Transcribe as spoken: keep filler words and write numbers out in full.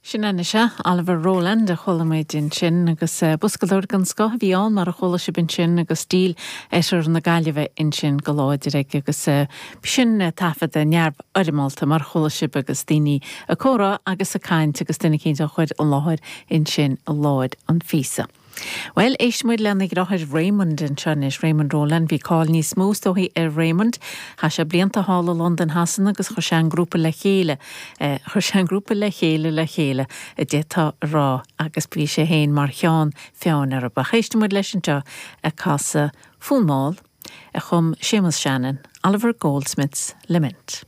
Sin anois é Oliver Rowland a chuala muid ansin agus eh, boscadóir den scoth a bhí ann mar a chuala sibh ansin agus stíl oirthear na Gaillimhe ansin go láidir aige agus eh, sin eh, taifead neamhfhoirmeálta mar chuala sibh agus daoine ag comhrá agus ag caint agus duine éicint á chur i láthair ansin i lár an phíosa. Well éistfimid lena dheartháir Raymond anseo anois Raymond Rowland bhí cáil níos mó dóibh ar Raymond, Chaith sé blianta thall i Londain Shasana agus chuir sé an grúpa le chéile, eh, chuir sé an grúpa le chéile le chéile a d'fhéadfá a rá agus bhí sé féin mar cheann feadhain orthu. Éistfimid leis anseo ag casadh fonn mall a chum Séamus Shannon, Oliver Goldsmith's Lament.